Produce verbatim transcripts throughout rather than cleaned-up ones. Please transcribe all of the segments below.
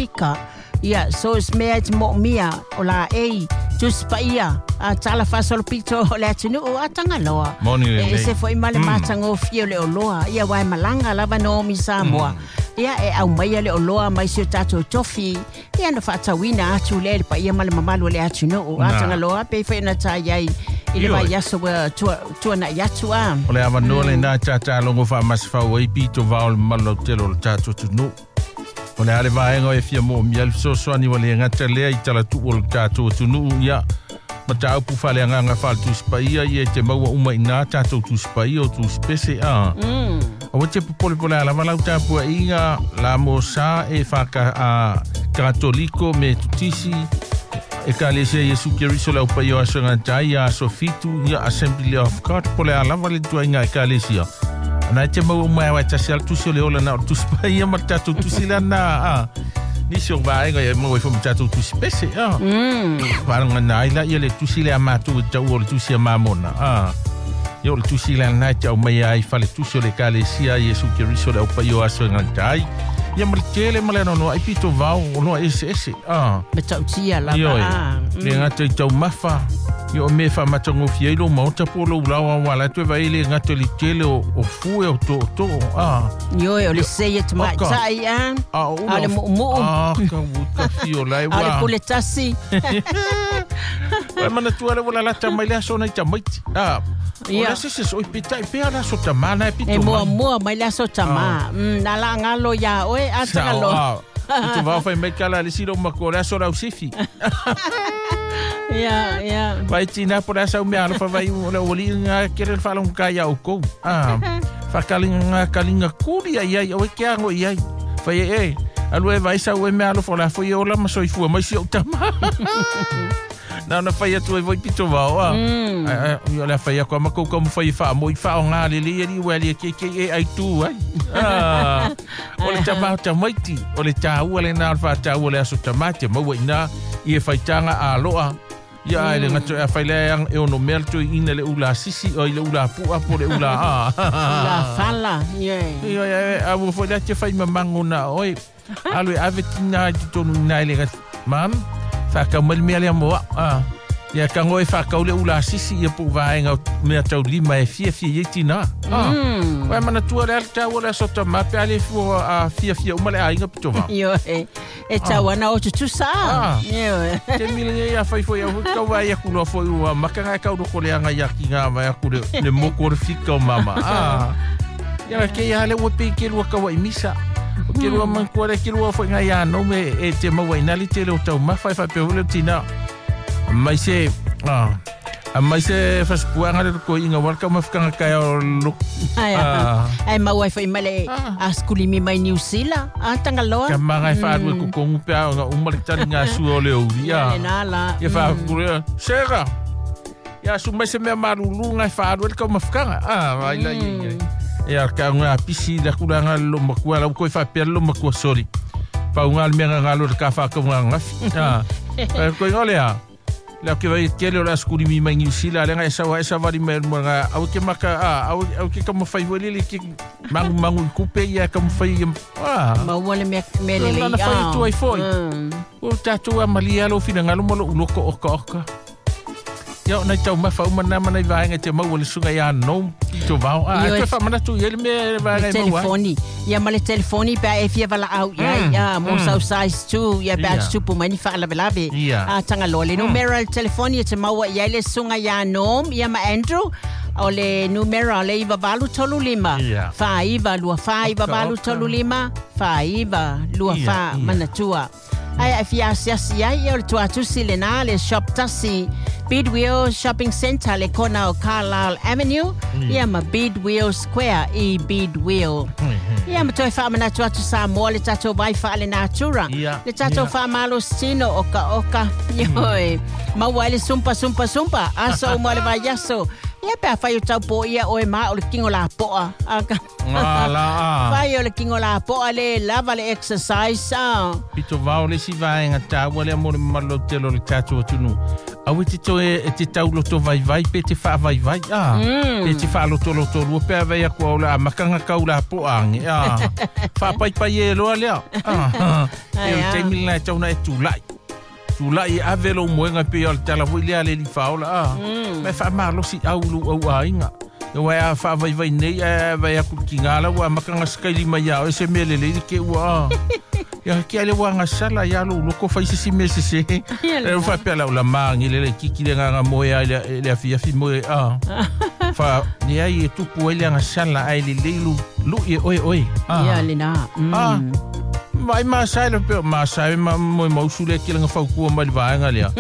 Pasifika. Ia, so se mea e te moomia o la ei, Tusi Paia, a tala faasolopito o le atunuu a Tagaloa. Moni E lelei. ese foi ma le matagofie o le oloa. Ia uae malaga lava Naomi Samoa. Ia e aumaia le oloa mai si o tatou tofi. Ia na faatauina atu lea i le paia ma le mamalu o le atunuu. A Na. Tagaloa pei foi ona ta iai i le Ioe. vaiaso ua tua- tuana'i atu a. O le avanoa lenā tatalogo faamasefau ai pito vao le mamalu lautele o le tatou atunuu. O le a le vaega o e fia moomia le fesoasoani ua le gata lea i talatuu o le tatou atunuu ia mataupu faaleagaga faaletusi paia ia e te maua uma iinā tatou tusi paia o tusi pese a. Mm. Aua te popole po le a lava lau tapuaʻiga la mo sa e faaka a katoliko me tutisi Ekalesia Iesu Keriso le aupaia o aso e gata ai ia aso fitu ia Assembly of God po le a lava le tuaiga Ekalesia. Ana e te maua uma e awa e tasi ale tusi o le ola na o le tusi paia ma le tatou tusi lana a. Nisi o vaega ia e maua ai foi ma tatou tusi pese a. Mm. Faalagana ai laia le tusi lea matou e taua o le tusi a mamona a. Ia o le tusi lana e te aumaia ai fale tusi o le Ekalesia Iesu Keriso le aupaia o aso e gata ai. Ia ma le tele ma le anoanoaʻi pito vao oloa eseese a. Matautia lava Ioe, a. le gata i taumafa ia o mea faamatagofie ai lou maota po o lou lao auala atu e vaai le gata i le tele o, o fue o tootoo a. Ioe, o le sei e Oka. tamaitai a. A o A ula le muumuu. A ka ua ka fio lai A o le ua. pule tasi. Uai manatua le ua lalata mai le aso nai tamaiti. A. O Ia. le aso se soi pitaʻi pea le aso tamā na e E pito mai. muamua mai le aso tamā. Mm, na laagalo iā oe a Sao Tagaloa. a. I te vao fai mai kala le silo matua o le aso lau sifi. Ia, ia. Vai tina po le asa umea alofa vai o le uali ngā kere le whalonga kai au kou. Ah, whakalinga ngā kalinga kuri ai ai, o e ke ango i ai. Whai e e, alu e vai sau e mea alofa o la foi e ola ma soifua mai si au tama. Na ona whai atu e voi pito wao a. Mm. Ai, ai, o le whai ako ama koukou mo whai e wha mo i wha o ngā lele i ali ua ali e ke ke e ai tū ai. Ah, o le tama o tamaiti, o le tāua le nā o le whātāua le aso tamate, maua i nā i e whaitanga a loa. Ia ai le ngato e awhai lea e ono mea le toi ina le ula sisi o i le ula pua po le ula a. La fala. Ioe. Ia ia a ua foi lea te whai mamango na oi. Alu e ave tina i te tonu ina i le ngati. Mam, whakau mai le mea lea moa. Ah. Ia ka ngoi whakau le ula sisi ia po vaenga o mea tau lima e fia fia i tina. Ah. Mm. Wai mana tua le ale tāua le aso tamā pe ale fua a fia fia uma le ainga pito vao. Ioe. E tau ana o tutusa. Ah. Ioe. Te mila ia whai foi au kau vai aku loa foi ua makanga e kau loko le anga ia ki ngā vai aku le, le moko o le fika o mama. Ah. Ia ke ia le ua pe ke lua kaua i misa. O ke lua man kua le ke lua foi ngā ia no me e te maua i nali te leo tau mawhai whai pe hule tina. Mai se, ah, a mai se whaspuanga le ko inga walka mawhakanga kai o loko. Ai, Ah. ai maua ai foi ma le Ah. a skulimi mai New Zealand. A Tagaloa. Ka manga e whaarue kukongu pea o ngā umale tani ngā sua o le uri. Ia Ah. le nā la. Ia whaakure, Sera, ia su mai se mea marulu ngai whaarue le kau mawhakanga. Ah, vai la ia ia. Ia ka ngā pisi la kura ngā lo makua, la koi whapea lo makua, sorry. Pau ngā le mea ngā ngā lo le ka whakau ngā ngafi. Ah, Pai koi ngā lea. Lea ke vai tele o la skuli mi mai New Zealand, le ngai sawa e sawari mai mo ngā, au ke maka, ah, au, au ke kamu whai wele le ke mangu mangu i kupe ia ka mwhai ia, ah. Maua le mea mea lelei. Nana whai atu ai foi. Mm. O tātou a malia lo whina ngalo malo uloko oka oka. Ia o nai tau mawha uma nā mana i vaenga te maua le sunga ia no i tō vao. A, Ioe. e toe whamanatu i ele mea e vaenga Le e maua. ai. telefoni. Ia ma le telefoni pe a e fia valaau iai. Mm, Ia mo mm. sau size two. Ia pe a Ia. tutupu mai ni faalavelave. Ia. A Tagaloa. Le numera o le telefoni e te maua i ai le suga iā Norm ia ma Andrew. O le numera o le iva valu tolu lima. Ia. Fā iva lua fā iva Oka, valu oka. tolu lima. Fā iva lua Ia, fā ia. manatua. Ai ai fia asiasi ai ia o le tuatusi lenā le shop tasi Bidwell Shopping Centre le kona o Carlisle Avenue ia ma Bidwell Square i Bidwell. Ia ma toe faamanatu atu Samoa le tatou vai faalenatura. Ia, Le tatou ia. faamalositino oka oka. Ioe. Maua ai le sumpa sumpa sumpa. Aso uma o le vaiaso. Ia pe afai o taupoʻi ia oe ma o le kigo lapoa. A ka- Ngā la a. Fai o le kigo lapoa le lava le exercise. Ah. Pito vao le si vaenga tāua lea mo le malo tele o le tātou atunu. Awe te toe e te tauloto vaivai pe te whaavaivai ah. Mm. Pe te whaalotoloto lua pe avei aku au la makanga kau la po ange ah. Whaapaipai e loa lea ah. E o taimi lena e tauna e tūlai tūlai e ave lou moenga pe o le tala foi lea le liwhaola ah. Mm. Me whaamalosi au lu au ainga. E wai a whaavaivai nei a vai aku ki ngā lau a makanga skaili mai au e se mea lelei ke ua ah. Ia ki ale wanga sala ia lo loko fai se si mese se. E fa pe la la mangi le le kiki le nganga moe ai le le afi afi moe a. Fa ni ai e tupu ai le nga sala ai le le lu lu e oi oi. Ia le na. Ah. Mai ma sai le pe ma sai ma moe mausu le ki le nga faukua mai le vaenga lea.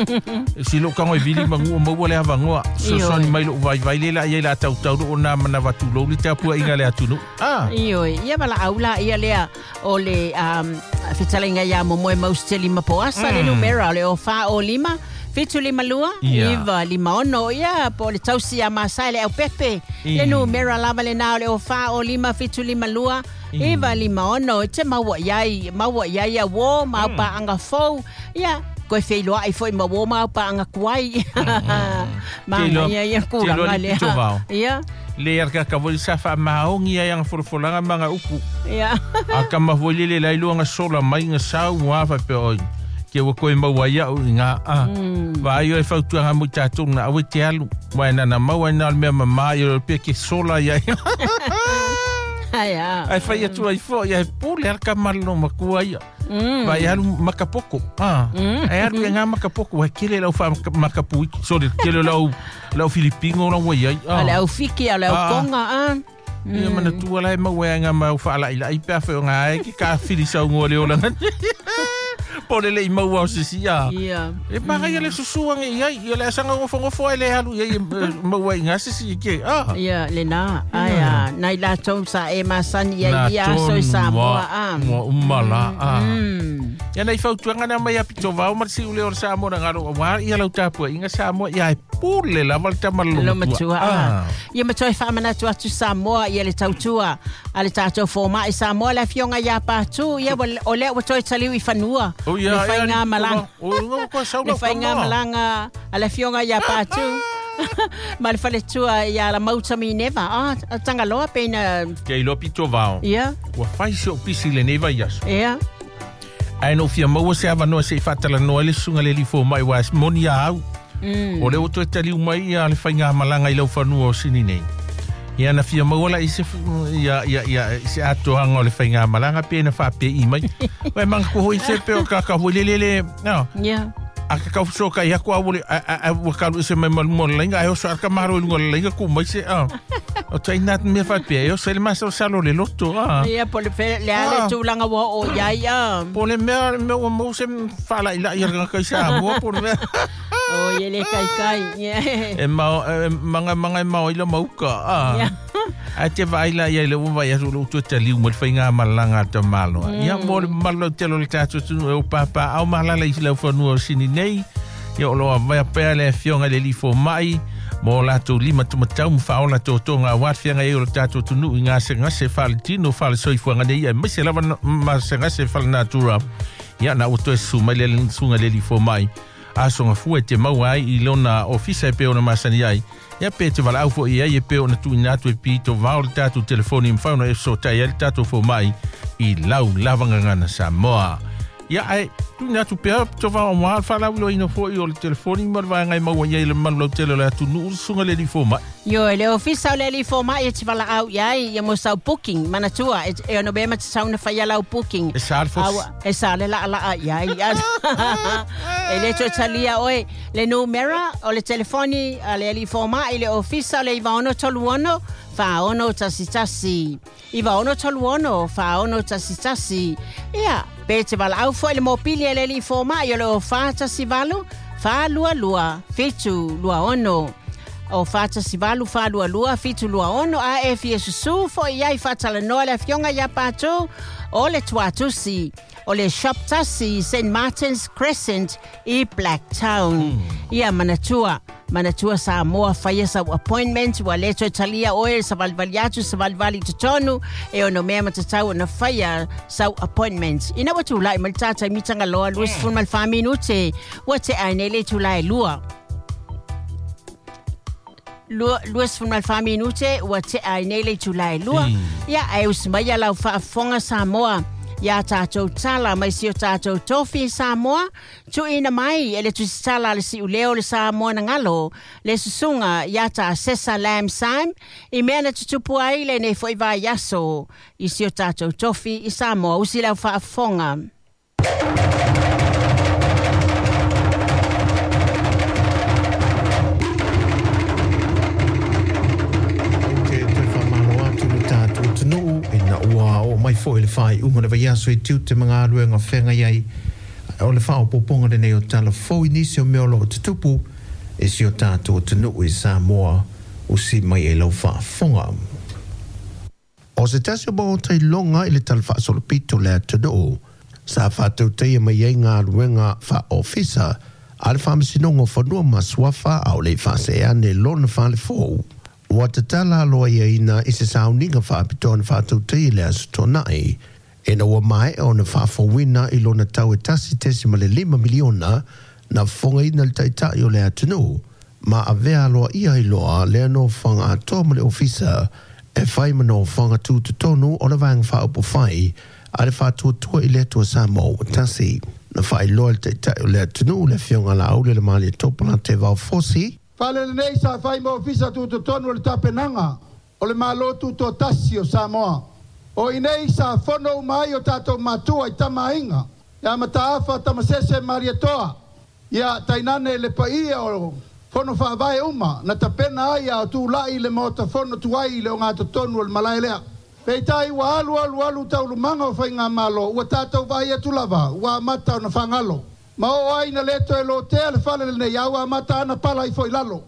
Si lo kango e vili mangu o maua le havangoa. So so ni mai lo vai vai le la ia la tau tau o na mana watu lo le tapua inga le atunu. Ah. Ioi, ia bala aula ia lea o le um fetalenga ia mo moe mausiteli mapoasa le numera le o fa o lima fitu lima lua iva lima ono ia po le tausi a masai le au pepe le numera lava le nao le o fa o lima fitu lima lua iva lima ono te maua iai maua iai ia wo mau pa anga fou ia koe wheiloa ai foi ma wo mau pa anga kuai ma ia ia kuranga lea ia le arka ka voi sa fa maongi ai ang forofolanga manga upu. Ia. A ka mahoi le lai luanga sola mai nga sau wa fa pe oi. Ke wa koe maua ia u nga a. Va ai e fautuanga mo tātou na awe te alu. Wa na na maua na mea mama i o pe ke sola ia. Ai a. Ai fai atu ai fo ia pule arka malo makua ia. Mm. Vai alu makapoko. Ah. Mm. Ai alu nga makapoko wa kele lau fa makapu. Sorry, kele lau lau Filipino lau wai ai. Ah. Lau fiki lau konga ah. Ia mana tua lai maua nga mau fa lai lai pe fa nga ai ki ka fili sau ngole ola. Po le le maua o sisi ah. Ia. E mara ia le susuanga ia ia le asanga ngofo ngofo ai le alu ia maua nga sisi ke. Ah. Ia le na. Ai ah nai la tau sa e masani ia ia so sa moa ah. Mo umala ah. Ia nei fautuanga na mai a pito vao ma si ule o Samoa na ngaro wa ia lau tapua inga Samoa ia e pule la valta malo lo matua ah. Ia matua e whamanatu atu Samoa ia le tautua a le tātou fōma i Samoa le fionga ia pātū ia o lea ua toi taliu i whanua oh, ia, le whainga malanga le whainga malanga a le fionga ia pātū ma le whaletua ia la mauta mi neva ah tangaloa pena Ke ilo pito vao ia ua whai se o pisi le neva iaso ia Ai no fia maua se avanoa se i whatala noa le sunga le lifo mai wa moni a au. Mm. O le oto e taliu mai ia le whainga malanga i lau whanua o sini nei. Ia na fia maua la i se, ia, ia, ia, se atoanga o le whainga malanga pe na whape i mai. Wai manga ko hoi se pe o kaka hoi le le le. No. Yeah. A ka kau soka i aku awole a a wakalu se mai malumo le lainga ai oso arka maro i lunga le lainga ku mai se a. O tai nat me whape e o se le masa o salo le loto a. Ia po le fe le ale tūlanga wa o iai a. Po le mea mea ua mau se whala i la i ranga kai sa mua po le mea. O ie le kai kai. E mao, e manga manga e mao i la mauka a. A te vai la ia le ua vai asu le utua taliu mo le whainga malanga ta malo. Ia mo le malo telo le tātou tunu e o pāpā au mahalala i lau whanua o sini nei. Ia o loa vai pea le fionga le lifo mai. Mo lātou lima tumatau mwha o lātou tonga wāt fianga e o le tātou tunu i ngā se ngase whale tino whale soifuanga nei. Ia maise lava ma se ngase whale natura. Ia na utua su mai le sunga le lifo mai. A songa fua te maua ai i lona ofisa e pe ona masani ai. Ia pe te wala au fo i ai e pe ona tuina atu e pito vao le tātou telefoni mwhauna e so tai ai le tātou fo mai i lau lavangangana Samoa. Ia ai, tuina atu pea to vao mua whalau ilo ina fo i o le telefoni ma le vaengai maua i ai le malu lau tele le atu nuu sunga le lifo mai. Yo, le ofisa o le lifo mai e te wala au iai, ia mo sau booking, manatua, e, e ono bema te sauna whaia lau booking. E sa le fos. E sa le la la iai. E le totalia oe, le numera o le telefoni a le lifo mai, le ofisa o le iwa ono tolu ono, wha ono tasi tasi. Iwa ono tolu ono, wha ono tasi tasi. Ia, pe te wala au fo le mopili e le lifo mai, o le o wha tasi valu, wha lua lua, fitu lua ono. O whātasi valu whālua lua fitu lua ono a e fia susu fo i ai whātalanoa le fionga ia pātū o le tuatusi o le shop tasi Saint Martin's Crescent i Blacktown. Mm. Ia manatua manatua Samoa whaia sau appointment wa leto talia oe sa valivali atu sa valivali totonu e ono mea matatau na whaia sau appointment. Ina wa tūlai mali tātai mitanga loa luis mm. fun mal wha minute wa te ainele tūlai lua. Lua ma le fa minute ua tea ai nei le itulā e lua. Ia ae usi mai ia lau faafofoga Samoa ia tatou tala mai si o tatou tofi Samoa tuuina mai e le tusitala a le siuleo le Samoa na galo le susuga ia ta Sesa Lam Sam i mea na tutupu ai lenei fo'i vaiaso i si o tatou tofi i Samoa. Usi lau faafofoga. Mai foi le faaiuga le vaiaso i tiute ma galuega feagai ai o le faaopoopoga lenei o tala fou i nisi o mea o loo tutupu e si o tatou atunuu i Samoa usi mai e lau faafofoga. O se tasi o maota iloga i le tala faasolopito le atunuu sa faatautaia mai ai galuega faaofisa a le Faamasinoga o Fanua ma Suafa a o le i faaseane lona falefou. Ua tatala aloaiaina i se sauniga faapitoa na faatautaia le aso Toonai ina ua maea ona faafouina i lona tau e tasi tesima le lima miliona na fofogaina le taitai o le atunuu ma avea aloaia ai loa lea nofoaga atoa ma le ofisa e fai ma nofoaga tutotonu o le vaega faaupufai a le faatuatua i le Atua Samoa ua tasi. Na faailoa le taitai o le atunuu le Afioga Laauli le Malietoa Polataivao Fosi. Fale lenei sa fai ma ofisa tutotonu o le tapenaga o le Malo Tutoatasi o Samoa. O inei sa fono uma ai o tatou matua i Tamaaiga, ia Mataafa Tamasese Malietoa, ia tainane le paia o fono faavae uma na tapena ai a o tulai le maota fono tuai i le ogatotonu o le malae lea. Peitai ua alu alu alu taulumaga o faigamalo ua tatou vaai atu lava ua amata ona fagalo. Ma oo ai na le toe lotea le fale lenei a ua amata ana pala ifo i lalo.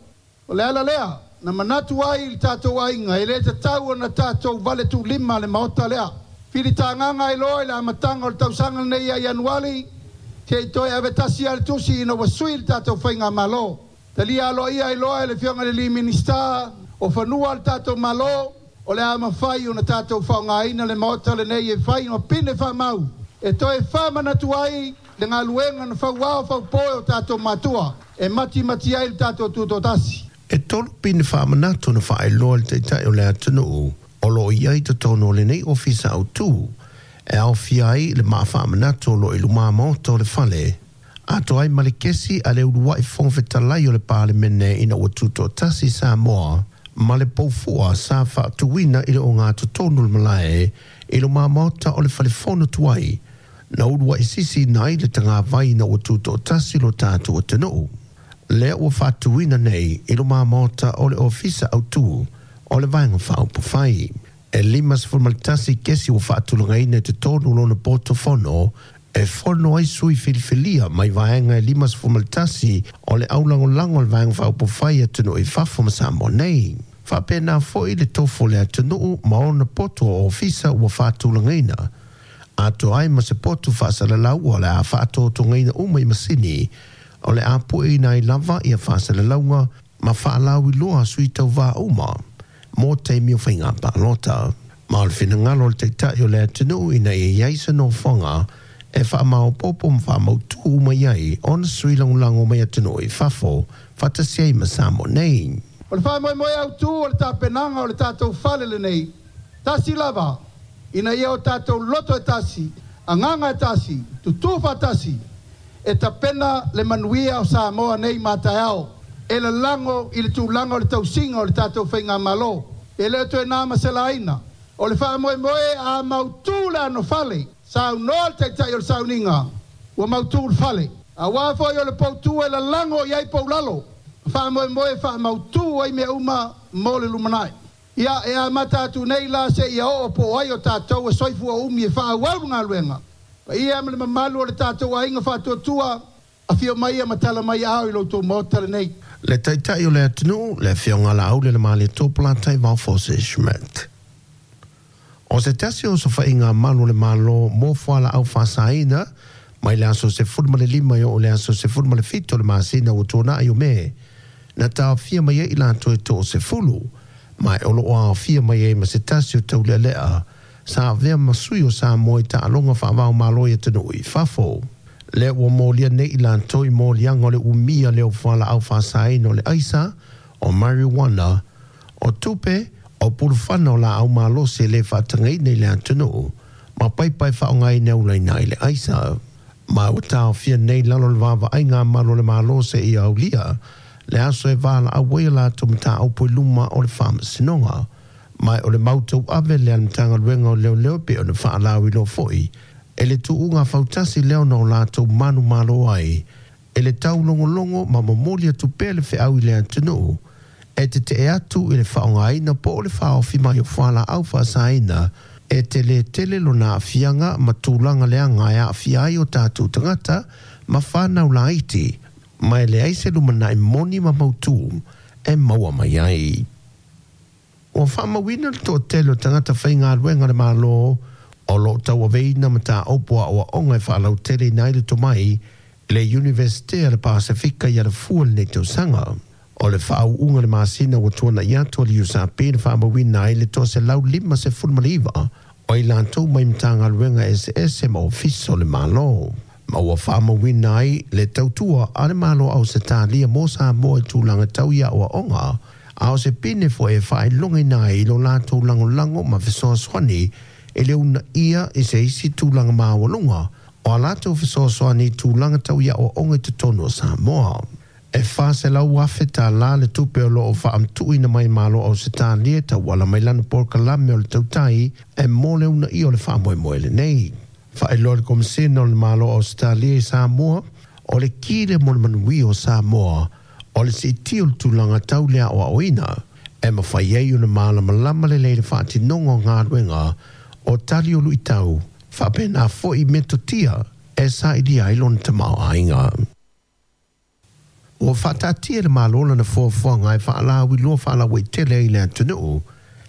O le ala lea na manatu ai i le tatou aiga e le tatau ona tatou vale tuulima le maota lea. Filitagaga ai loa i le amataga o le tausaga lenei ia Ianuali se'i toe avetasi a le tusi ina ua sui le tatou faigamalo. Talia aloaia ai loa e le Afioga i le alii Minisita o Fanua le tatou Malo o le a mafai ona tatou faaaogaina le maota lenei e fai ma pine faamau e toe faamanatu ai le galuega na fauao faupoe o tatou matua e matimati ai le tatou tutotasi. E tolu pine faamanatu na faailoa le taitai o le atunuu o loo i ai totonu o lenei ofisa autū e aofia ai le maa faamanatu o loo i lumā maota o le fale. Atoa ai ma le kesi a le ulua'i fofoga fetalai o le Palemene ina ua tutoatasi Samoa ma le poufua sa faatuina i le ogatotonu le malae i lumā maota o le falefono tuai na ulua'i sisiina ai le tagavai ina ua tutoatasi lo tatou atunuu. Lea ua faatuina nei i lumā maota o le ofisa autū o le vaega faaupufai. E lima sefulu ma le tasi kesi ua faatulagaina i totonu lona poto fono e fono ai sui filifilia mai vaega e lima sefulu ma le tasi o le aulagolago o le vaega faaupufai atunuu i fafo ma Samoa nei. Faapena fo'i le tofo o le atunuu ma ona poto o ofisa ua faatulagaina. Atoa ai ma se potu faasalalau o le a faatotogaina uma i masini o le a pueina ai lava ia faasalalauga ma faalauiloa sui tauvā uma mo taimi o faiga palota. Ma o le finagalo o le taitai o le atunuu ina ia i ai se nofoaga e faamaopoopo ma faamautū mai ai ona sui lagolago mai atunuu i fafo faatasi ai ma Samoa nei. O le faamoemoe autū o le tapenaga o le tatou fale lenei, tasi lava, ina ia o tatou loto e tasi, agaga e tasi, tutū faatasi, e tapena le manuia o Samoa nei ma taeao, e lalago i le tulaga o le tausiga o le tatou faigamalo. E le o toe na ma selaina. O le faamoemoe a mautū le anofale, saunoa le taitai o le sauniga, ua mautū le fale. Auā foi o le poutū e lalago i ai poulalo, faamoemoe faamautū ai mea uma mo le lumanai. Ia e amata atu nei la seia oo po o ai o tatou e soifua umi e faaauau le galuega. Paia ma le mamalu o le tatou aiga faatuatua, afio mai ia ma tala mai aao i lo outou maota lenei. Le taitai o le atunuu le Afioga Laauli le Malietoa Polataivao Fosi Schmidt. O se tasi o sofaiga malu o le Malo mo fualaau faasaina mai le aso sefulu ma le lima e oo i le aso sefulu ma le fitu o le masina ua tuanai o Me na taofia mai ai i latou e toasefulu ma e o loo aofia mai ai ma se tasi o taulealea sa avea ma sui o Samoa i taaloga faavaomalo i atunuu i fafo. Lea ua molia nei i latou i moliaga o le umia lea o fualaau faasaina o le aisa o marijuana, o tupe, o pulufana o la au malosi le whaatangei nei le atunuu, ma paipai whaongai nei nei le aisa. Ma ua taofia nei lalo le vava ai ngā malo le malose i aulia, le aso e wāla a wea la tau mataupu i luma o le whaamasinoga. Mai o le mautau ave le Matagaluega o Leoleo pe o le whaalauiloa foi, e le tuuga fautasi lea ona o latou manumalo ai, e le taulogologo ma momoli atu pea le feau i le atunuu, e tetee atu i le faaaogaina po o le faaofi mai o fualaau faasaina, e tele tele lona aafiaga ma tulaga leaga e aafia ai o tatou tagata ma fanau laiti, ma e leai se lumanai moni ma mautū e maua mai ai. Ua faamauina le toatele o tagata faigaluega le Malo o loo tauaveina mataupu aoaoga e faalauteleina ai le tomai i le Iunivesite a le Pasefika i Alafua lenei tausaga. O le faauuga le masina ua tuana'i atu a le U S R P na faamauina ai le toaselau lima sefulu ma le iva o i latou mai Matagaluega eseese ma Ofisa o le Malo. Ma ua faamauina ai le tautua a le Malo Ausetalia mo Samoa i tulaga tau i aoaoga, a o se pine foi e faailogaina ai i lo latou lagolago ma fesoasoani e le uunaia i se isi tulaga maualuga o a latou fesoasoani i tulaga tau i aoaoga i totonu o Samoa. E fa selau afe tālā le tupe o loo faamatuuina mai Malo Ausetalia tauala mai lana polokalame o le tautai e mo le uunaia o le faamoemoe lenei. Faailoa le Komisina o le Malo Ausetalia i Samoa, o le kile mo le manuia o Samoa, o le siitia o le tulaga tau le aoaoina, e mafai ai ona malamalama lelei le faatinoga o galuega o tali o luitau, faapena foi metotia e sailia ai lona tamaoaiga. Ua faataatia le Malo lana fuafuaga e faalauiloa faalauaitele ai le atunuu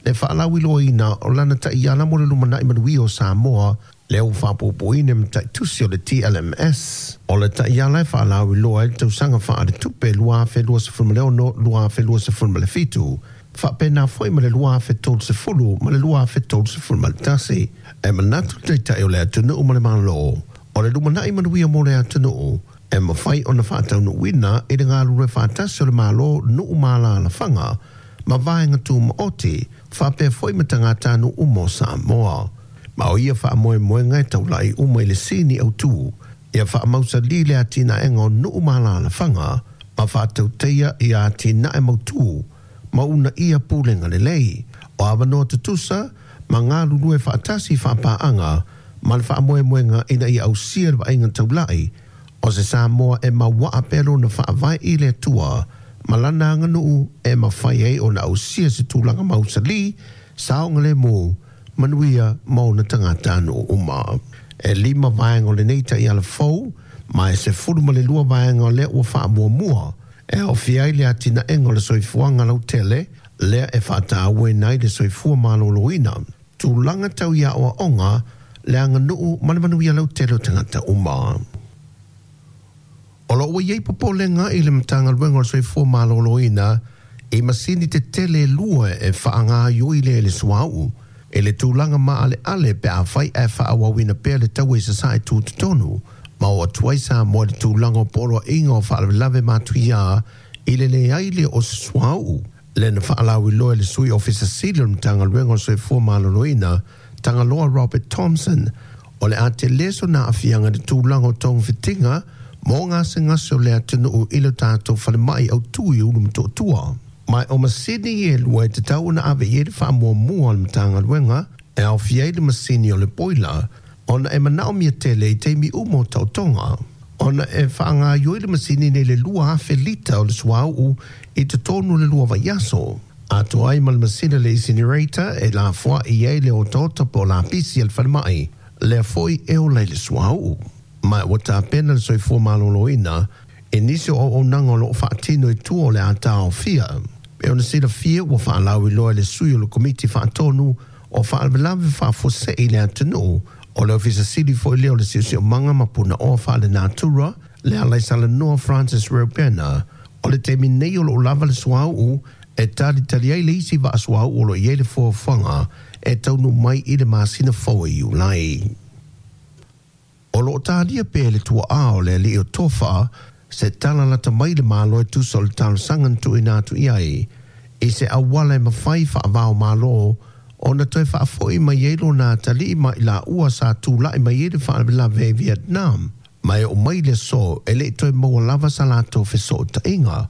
le faalauiloaina o lana taiala mo le lumanai manuia o Samoa, lea ua faapuapuaina ma taitusi o le T L M S. O le taiala e faalauiloa ai le tausaga faaletupe lua afe luasefulu ma le ono, lua afe luasefulu ma le fitu, faapena foi ma le lua afe tolusefulu ma le lua afe tolusefulu ma le tasi. E manatu le Taitai o le atunuu ma le Malo, o le lumanai manuia mo le atunuu e mafai ona faataunuuina i le galulue faatasi o le Malo, nuu ma alaalafaga ma vaega tumaoti, faapea foi ma tagatanuu uma o Samoa. Ma o ia faamoemoega e taulai uma i le sini autū ia faamausali le atinaega o nuu ma alaalafaga ma faatauteia ia atinae mautū ma uunaia pulega lelei o avanoa tutusa ma galulue faatasi faapaaga ma le faamoemoega ina ia ausia le vaaiga taulai o se Samoa e mauaa pea lona faavae i le Atua ma lana aganuu e mafai ai ona ausia se tulaga mausali, saogalemu, manuia ma ona tagatanuu uma. E lima vaega o lenei taiala fou, ma e sefulu ma le lua vaega o lea ua faamuamua e aofia ai le atinaega o le soifuaga lautele, lea e faatauaina ai le soifua malōlōina, tulaga tau i aoaoga, le aganuu ma le manuia lautele o tagata uma. O loo ua iai popolega i le Matagaluega o le Soifua Malōlōina i masini tetele e lua e faagaioi le le suauu e le tulaga maaleale pe afai ae faaauauina pea le taua i Sasae tutotonu ma o atu ai Samoa i le tulaga o poloaiga o faalavelave matuiā i le leai lea o se suauu. Le na faalauiloa e le Sui Ofisa Sili o le Matagaluega o le Soifua Malōlōina, Tagaloa Robert Thompson, o le a tele sona aafiaga i le tulaga o togafitiga mo gasegase o le atunuu i le tatou falemai autū i Ulumotootua. Ma o masini e lua e tatau ona ave i ai le faamuamua a le Matagaluega e aofia ai le masini o le boiler ona e manaomia tele i taimi uma o taotoga ona e faagaioi le masini nei le lua afe lita o le suauu i totonu o le lua vaiaso. Atoa ai ma le masini le incinerator e lafoai ai le otaota po o lapisi a le falemai, lea foi e ola i le suauu. Ma ua tapena le Soifua Malōlōina i nisi o auaunaga o loo faatino i tua o le a taofia. E ona silafia ua faalauiloa e le sui o le Komiti Faatonu o Faalavelave Faafuasei i le atunuu, o le Ofisa Sili foi lea o le Siosiomaga ma Punaoa Faalenatura, le Alaisalanoa Francis Reupena, o le taimi nei o loo lava le suauu e talitali ai le isi vaa suauu o loo i ai le fuafuaga e taunuu mai i le masina fou e Iulai. O loo talia pea le tuaa o le alii o Tofa Se tala lata mai le malo e tusa o le talosaga na tuuina atu i ai i se auala e mafai faavao malo ona toe faafo'i mai ai lona atalii ma i laua sa tula'i mai ai le faalavelave i Vietnam ma e oo mai le aso e le'i toe maua lava sa latou fesoota'iga.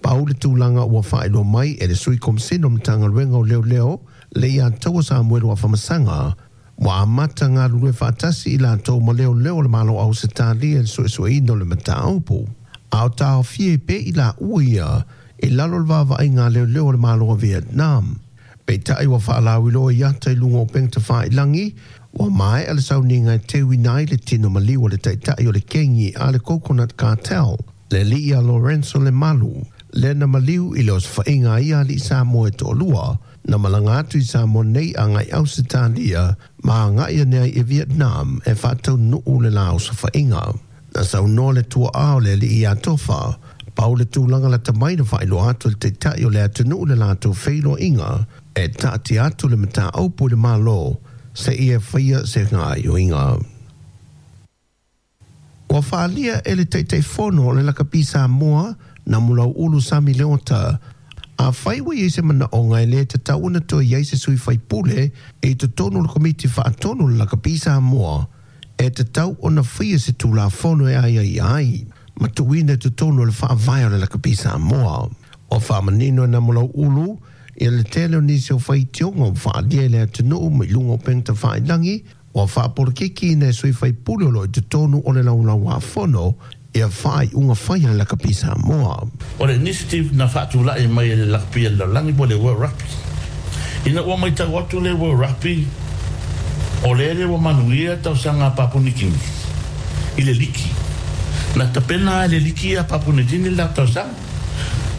Pau le tulaga ua faailoa mai e le sui komisina o Matagaluega o Leoleo le iā taua Samuelu Afamasaga ua amata galulue faatasi i latou ma leoleo o le Malo Ausetalia i le suesueina o le mataupu. A o taofia ai pea i laua ia i lalo o le vaavaaiga a leoleo o le Malo o Vietnam. Peitai ua faalauiloa i ata i luga o upega tafailagi ua maea le sauniga e teuina ai le tino maliu o le taita'i o le kegi a le Coconut Cartel, le alii a Lorenzo Lemalu, lea na maliu i le osofa'iga a ia ali'i Samoa e to'alua na malaga atu i Samoa nei agai Ausetalia ma aga'i ane ai i Vietnam e faataunu'u le la osofa'iga. Na saunoa le tua'a o le alii iā Tofa, pau le tulaga lata mai na faailoa atu e le taita'i o le atunu'u le latou feiloaiga e taatia atu le mataupu i le Malo seia faia se gaoioiga. Ua faaalia e le Taitaifono o le Lakapi Samoa Namulau'ulu Sami Leota, afai ua i ai se manaʻoga e lē tatau ona toe i ai se sui faipule i totonu o le Komiti Faatonu o le Lakapi Samoa, e tatau ona faia se Tulafono e aiaia ai ma tuuina i totonu o le Faavae o le Lakapi Samoa. Ua faamanino e Namulau'ulu ia le tele o nisi o faitioga ua faaalia i le atunuu ma i luga o upega tafailagi ua faapolokikiina e sui faipule o loo i totonu o le Laulauāfono ia faaiuga fai a le Lakapi Samoa. O le initiative na faatula'i mai e le Lakapi a le Lalolagi po o le World Rugby. Ina ua matau atu le World Rugby o lele ua manuia tausaga a Papua New Guinea i le liki. Na tapena e le liki a Papua New Guinea le latou tausaga.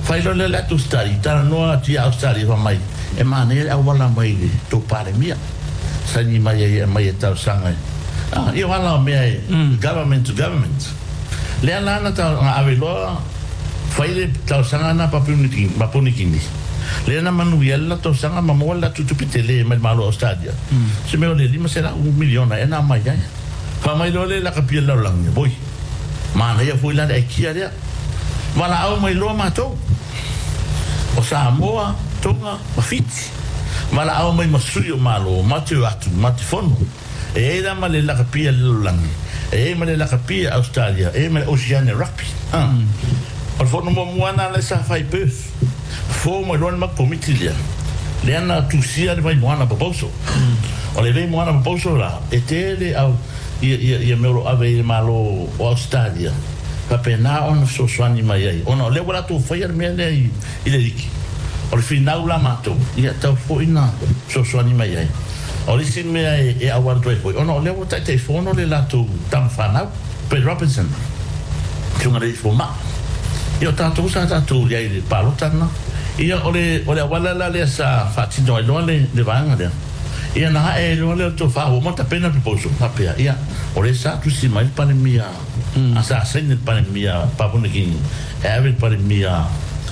Fai loa lea o le atu study, talanoa atu ia Australia fai mai, e manaia le auala mai i le tou Palemia. Saini mai ai e aumai e talosaga ah, ia o ala o mea e government to government. Lea la na tau na ave loa fai le talosaga na Papua New Guinea, Papua New Guinea. Lea na manuia le latou tausaga ma maua le latou tupe tele mai le Malo o Australia. Se mea o le lima selau miliona ea na aumai ai. Fai mai loa le lakapia i le lalolagi, oi, manaia foi la le aikia lea. Valaau mai loa matou o Samoa, Tonga ma Fiti. Valaau mai ma sui o Malo, ma te o atu, ma te fono. E ai la ma le lakapia i le lalolagi, e ai ma le lakapia i Australia, e ai ma le Oceania Rugby. Ah. O le fono muamua lena lea sa fai i Perth. Fofo mai loa le matou komiti lea. Lea na tusia le Vaimoana proposal. O le Vaimoana proposal la, e tele au ia, ia, ia mea o lo o ave i le Malo o Australia. Faapena ona fesoasoani mai ai. Ona o lea ua latou faia le mea lea i, i le liki. O le finau la matou, ia tau foi na fesoasoani mai ai. O le isi mea e, e auala atu ai foi, ona o lea ua taitaifono le latou tama fanau, Brett Robinson, susuga i le fomai. Ia o tatou sa tatou i ai i le palota lena. Ia o le, o le auala la lea sa faatino ai loa le, le vaega lea. Ia na ae ai loa lea o le tofa ua uma tapena le proposal, faapea, ia, o lea sa tusi mai le Palemia, a sa saini le Palemia Papua New Guinea, e ave le Palemia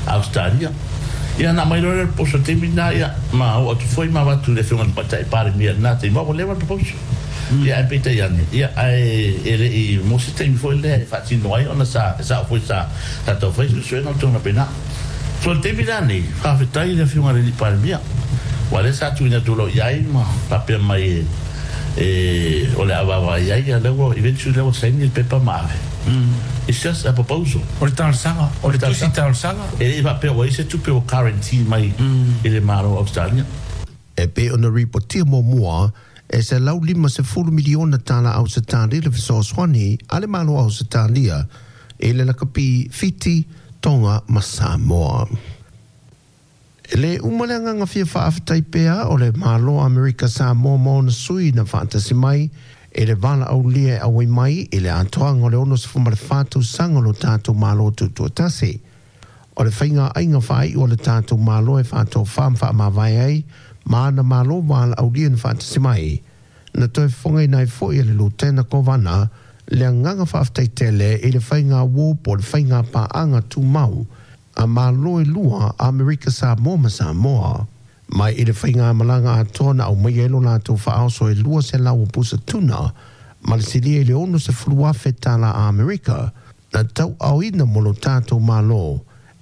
Australia. Ia na aumai loa lea o le proposal i le taimi lena, ia, ma oo atu foi ma avatu i le Afioga i le Tamaitai Palemia i lena taimi, ua leva le proposal. Ia ae peitai ane, ia, ae e le i mo se taimi foi lea e faatino ai ona sa, e sao foi sa tatou fai suesuega o le tulaga pena. So i le taimi la nei, faafetai i le Afioga i le Alii Palemia, aua lea sa tuuina atu loa i ai ma faapea mai e, e o le a vaavaai ai, ia lea ua eventually lea ua saini le pepa ma ave. It's just a proposal. O le talosaga, o le tusi talosaga. E le i faapea ua i ai se tupe ua guarantee mai i le Malo o Australia. E pei ona ripotia muamua e selau lima sefulu miliona tala Ausetalia le fesoasoani a le Malo o Ausetalia i le lakapi Fiti, Tonga ma Samoa. E lē uma le agaga fia faafetai pea o le Malo o Amerika Samoa ma ona sui na faatasi mai i le valaaulia e auai mai i le atoaga o le ono sefulu ma le fa tausaga o lo tatou Malo Tutoatasi. O le faiga aiga faaiu a le tatou Malo e faatofā ma faamavae ai ma ana Malo valaaulia na faatasi mai, na toe fofogaina ai foi e le Lutena Kovana le agaga faafetai tele i le faiga uō po o le faiga paaga tumau a Malo e lua a Amerika Samoa ma Samoa. Mai i le faigamalaga atoa na aumaia ai lo latou faaoso e lua selau o pusa tuna ma le silia i le ono sefulu afe tala a Amerika, na tauaaoina mo lo tatou Malo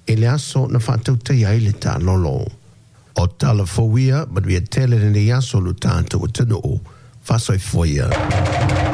i le aso na faatautaia ai le taalolo. O tala fou ia, manuia tele lenei aso lo tatou atunuu, faasoifua ia.